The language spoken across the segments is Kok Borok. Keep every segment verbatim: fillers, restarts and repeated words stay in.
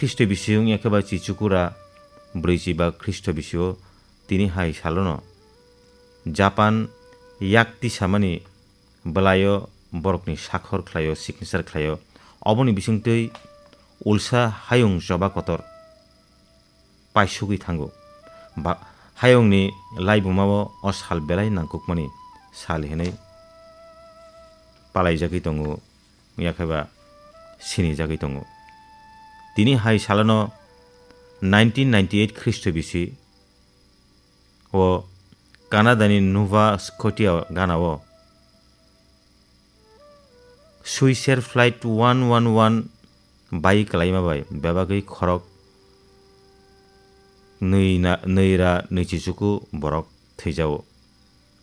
Khristo bisi wngya khe ba Chichukura brwichi ba Khristo bisio tini hai salono Japan yak tisamani bwlaio borokni sakhor khlaio, signature khlaio. Oboni bisingtwi ulsa hayung choba kotor paisugwi thango. Ba-, hayungni laibumao o sal belai nangkukmani sal hinwi palaijagwi tongo, wngya khe ba sinijagwi tongo. Tini hai salono nineteen ninety-eight Khristo bisi o Canada ni Nova Scotia gana o Swissair Flight one one one bai kwlaima bai bebagwi khorok nwi na, nwi ra nwi chichuku borok thwijao.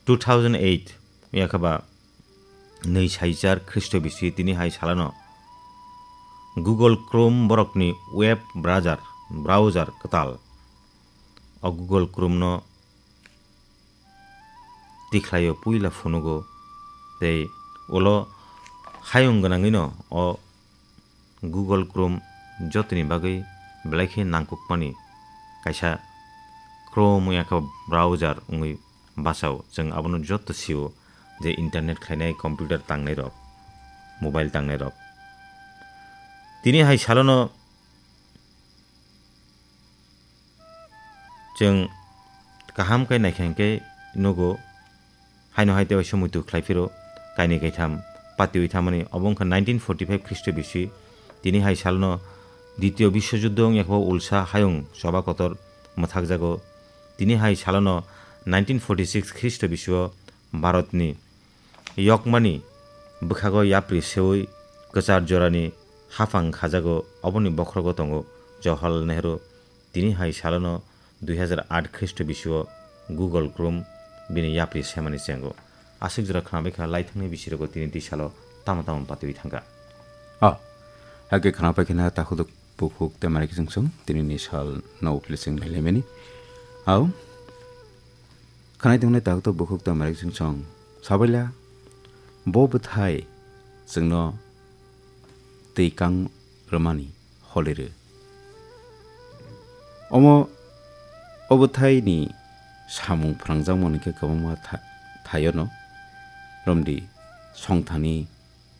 Two thousand eight yakha ba nwi saichar Khristo bisi tini hai salano Google Chrome borokni web browser, browser kwtal. O Google Chrome no tikhlaio puila phunugo tei ulo hayung gwnangwino o Google Chrome jotoni bagwi belai khe nangkukmani kaisa Chrome wngya khe browser wngwi bachao. Chwng abono joto sio je internet khlainai, computer tangnairok, mobile tangnairok. Tini hai salono chwng kaham khe naikha hinkhe nugo, haino hai tei waisa muitu khlai phiro kainwi kaitham patiwi thamani. Obo wngkha nineteen forty-five Khristo bisi. Tini hai salno Ditio Biswojuddo wngya khe ulsa hayung choba kotor mwthakjago. Tini hai salno nineteen forty-six Khristo bisio Bharatni yokmani bwkhago yapri seui kwchar jorani haphang khajago, oboni bokhorogo tongo Jawaharlal Nehru. Tini hai salono dui hazar aat Khristo bisio Google Chrome bini yapri semani chengo. Aswk jora khwnabaikha laithangni bisirogo tini twi salo tamo tamo patiwi thangkha. Oh, hakhe khwnabaikha na takhuduk bukhuk tei mari kiching song tini ni sal no uplising nailaimani. Au, khwnai tongnai takhuduk bukhuk tei mari kiching song. Sabaila, bo bwthai chwngno twi kang rwmani holirw. Omo o bwthaini samung phwrangjakmani khe kwbangma tha-, thaiono romdi songthani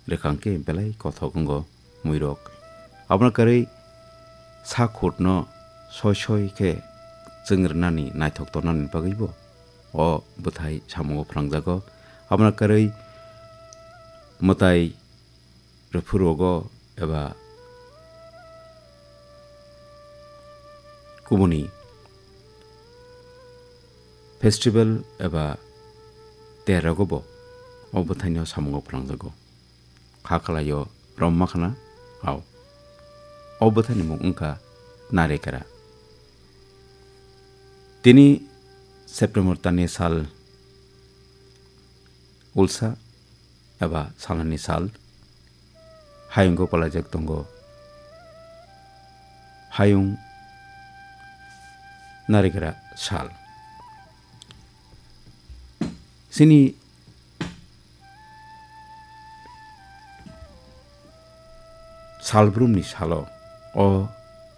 rwkang khe belai kothok wngo muirok. Abono kwrwi sak khutno soi soi khe chwng rwnani naithok tongnani bagwibo o bwthai samungo phwrangjago. Abono kwrwi mwtai rwphuru rogo eba kubuni festival eba ter rogo bo o bwthaino samungo phwrangjago. Kha khlaio romma khna, au. O bwthaini mung wngkha Narikara. Tini September tani sal ulsa eba salani sal hayungo palaijak tongo. Hayung Narikara sal. Chini salbrumni salo o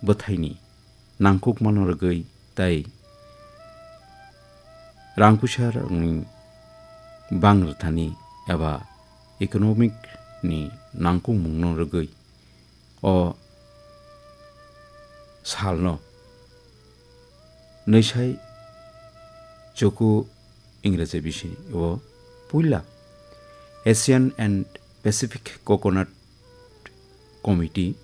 bwthaini nangkukmano rwgwi tei rang puisa rokni bang rwthani eba economic ni nangkukmungno rwgwi o salno nwisai chuku Ingraji bisi o puila Asian and Pacific Coconut Committee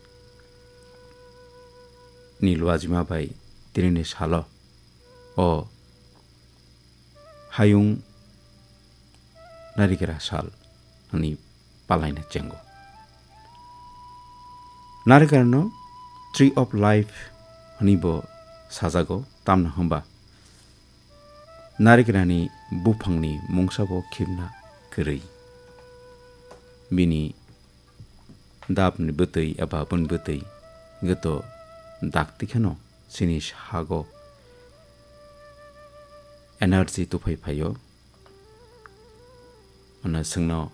ni luajima bai tinini salo o hayung Narikara sal hwnwi palaina chengo. Narikarano Tree of Life hwnwi bo sajago, tamno hwnba Narikarani buphangni mungsa bo khibna kwrwi. Bini dapni bwtwi eba bun bwtwi goto dakti kheno chini sago energy tuphai phaio. Ano chwngno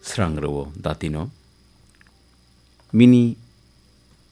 srang rwo datino. Bini